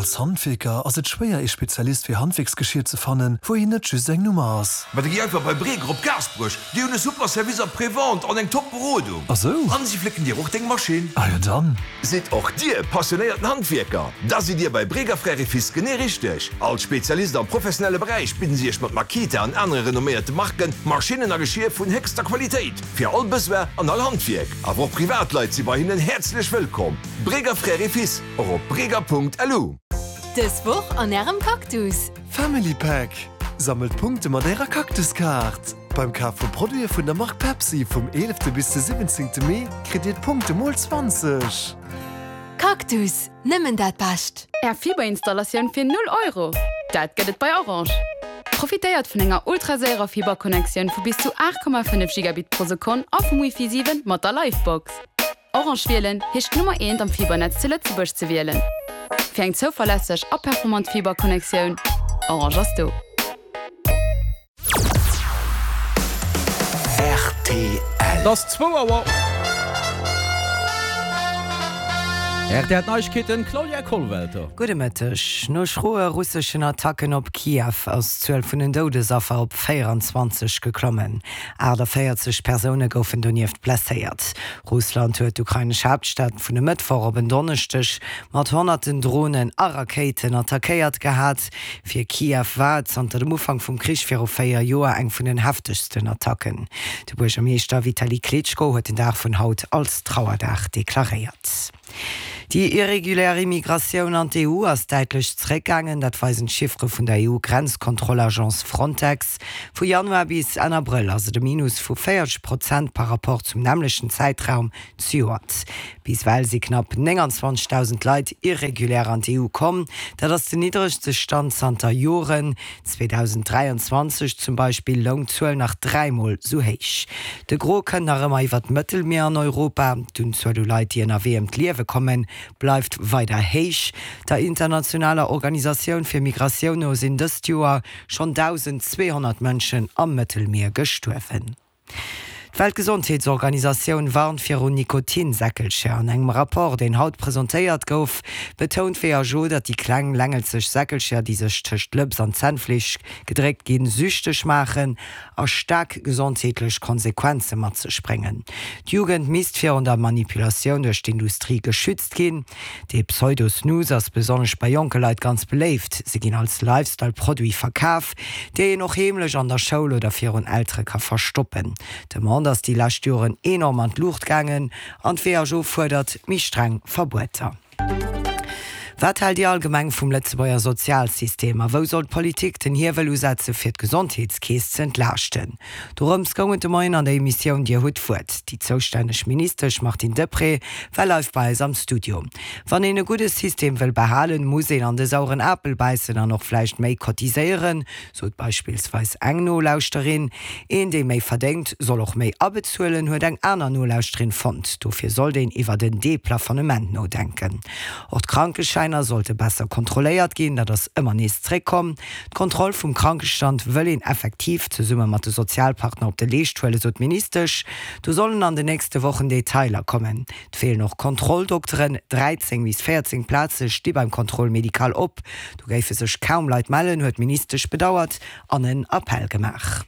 Als Handwierker ass et schwéier ee Spezialist fir Handwierksgeschier ze fannen, wou een net just eng Nummer ass. Ma da gi einfach bei Breger op Gaasperech, déi hunn e super Service après-vente an eng top Berodung. Ah sou? An si flécken dir och deng Maschinn. Ah jo dann. Sidd och dir passionéierten Handwierker? Da sidd dir bei Breger Frères et Fils genee richteg! Als Spezialist am professionelle Beräich bidden si iech mat Makita an anere renomméierte Marken Maschinnen a Geschier vun héchster Qualitéit fir all Besoin an all Handwierk. Awer och Privatleit si bei hinnen häerzlech wëllkomm. Breger Frères et Fils, och op breger.lu. Dës Woch an Ärem Cactus! Family Pack, Sammelt Punkte mat Ärer Cactus-Kaart! Beim Kaf vu Produite vun der Mark Pepsi vum 11 bis de 17 Mee kritt Dir d'Punkte mol 20. Cactus, nëmmen dat Bescht! Är Fiberinstallatioun fir 0 Euro? Dat gëtt et bei Orange! Profitéiert vun enger ultraséierer Fiberconnectioun vu bis zu 8,5 Gigabit pro Sekonn a vum Wifi 7 mat der Livebox. Orange wielen heescht d'Nummer eent am Fibernetz zu Lëtzebuerg ze wielen. Fir eng zouverlässeg a performant Fiberconnectioun, Orange ass do. Rtl. Et ass zwou Auer. Rtl Neiegkeeten, Claudia Kollwelter. Gudde Mëtteg. No schroe russeschen Attacken op Kiew ass d'Zuel vun den Doudesaffer op 24 geklommen. 48 Persoune goufen donieft blesséiert. Russland huet d'ukrainesch Haaptstad vun e Mëttwoch op en Donneschdeg mat honnerten Dronen a Rakéiten attackéiert gehat. Fir Kiew war et zanter dem Ufank vum Krich viru 4 Joer eng vun den heftegsten Attacken. De Buergermeeschter Vitali Klitschko huet den Dag vun haut als Trauerdag deklaréiert. Déi irregulär Immigratioun an d'EU ass däitlech zeréckgaangen. Dat weisen d'Chiffere vun der EU-Grenzkontrollagence Frontex. Vu Januar bis Enn Abrëll ass et e Minus vu 40 Prozent par Rapport zum nämmlechten Zäitraum zejoert. Bis ewell si knapp 29.000 Leit irregulär an d'EU komm. Dat ass den niddregste Stand zanter Joren. 2023 zum Beispill loung d'Zuel nach dräimol sou héich. De Gros kënnt nach ëmmer iwwer d'Mëttelmier an Europa. D'Unzuel u Leit, déi ënnerwee ëm d'Liewe kommen, bleift weider héich. Der internationaler Organisatioun fir Migratioun no sinn dëst Joer schonn 1.200 Mënschen am Mëttelmier gestuerwen. D'Weltgesondheetsorganisatioun warnt viru Nikotinsäckelcher. An engem Rapport, deen haut presentéiert gouf, betount d'WHO, datt déi kleng längelzeg Säckelcher, déi sech tëscht d'Lëps an d'Zännfleesch gedréckt ginn, süchteg maachen a staark gesondheetlech Konsequenze mat sech bréngen. D'Jugend misst virun der Manipulatioun duerch d'Industrie geschützt ginn. Dee Pseudo-Snus ass besonnesch bei jonke Leit ganz beléift. Se ginn als Lifestyle-Produit verkaf, déi een och heemlech an der Schoul oder virun Eltere ka verstoppen. D'Demande ass déi lescht Joren enorm an d'Luucht gaangen an d'WHO fuerdert méi streng Verbueter. Wat haalt Dir allgemeng vum Lëtzebuerger Sozialsystem a wou soll d'Politik den Hiewel usetze fir d'Gesondheetskeess ze entlaaschten? Dorëms goung et de Moien an der Emissioun Dir hutt d'Wuert. Déi zoustänneg Ministesch Martine Deprez war live bei eis am Studio. Wann een e gudde System wëll behalen, muss een an de sauren Apel bäissen an och vläicht méi cotiséieren, sot beispillsweis eng Nolauschterin. Een, dee méi verdéngt, soll och méi abezuelen, huet eng aner Nolauschterin fonnt. Dofir sollt een iwwert en Deplafonnement nodenken. Och d'Krankeschäiner sollte besser kontrolléiert ginn, dat ass ëmmer nees zréckkomm. D'Kontroll vum Krankestand wëll een effektiv zesumme mat de Sozialpartner op de Leescht huelen, sot d'Ministesch. Do sollen an den nächste Wochen Detailer kommen. Et feelen och Kontrolldokteren, 13 bis 14 Plaze sti beim Contrôle médical op. Do géife sech kaum Leit mellen, huet d'Ministesch bedauert an en Appell gemaach.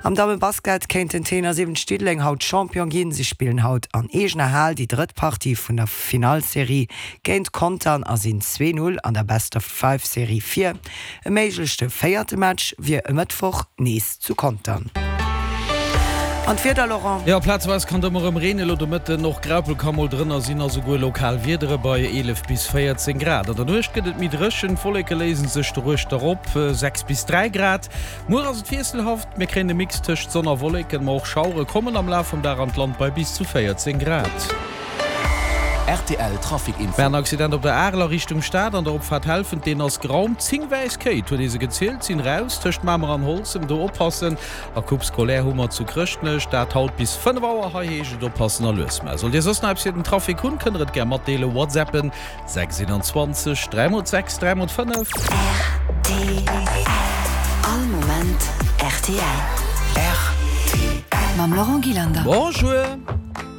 Am Dammebasket kéinten d'Tenor 7 Diddeleng haut Champion ginn. Si spillen haut an eegener Hal déi drëtt Partie vun der Finallserie géint Contern a sinn 2, 0 an der Best-of-Five-Serie vir. E méiglechte véierte Match wier e Mëttwoch nees zu Contern. An d'Wieder, Laurent? Jo, plazeweis kann et ëmmer erëm reenen, elo de Mëtten och Graupel ka mol drënner sinn a souguer lokal Wiedere bei 11 bis 14 Grad. An der Nuecht gëtt et méi dréchen, d'Wolleke léise sech doruechter op, 6 bis 3 Grad. Muer ass et wiesselhaft, mir kréien e Mix tëscht Sonn a Wolleken, ma och Schauere kommen am Laf vum Dag an d'Land bei bis zu 14 Grad. Rtl Trafic Info. Mä en Accident op der Arel a Richtung Stad an der Opfaart Helfent, deen ass geraumt. 10 wäiss Kéit, huet ee se gezielt, sinn raus tëscht Mamer an Holzem. Do oppassen. A Coupe scolaire hu mer zu Chrëschtnech, dat haut bis 5 Auer. Hei heescht et oppassen a lues maachen. Sollt Dir soss nach eppes fir den Trafic hunn, kënnt der et gär matdeelen. Whatsappen 6 21 3 mol 6 3 mol 5. Rtl. All Moment rtl. Rtl. Mam Laurent Gillander. Bonjour.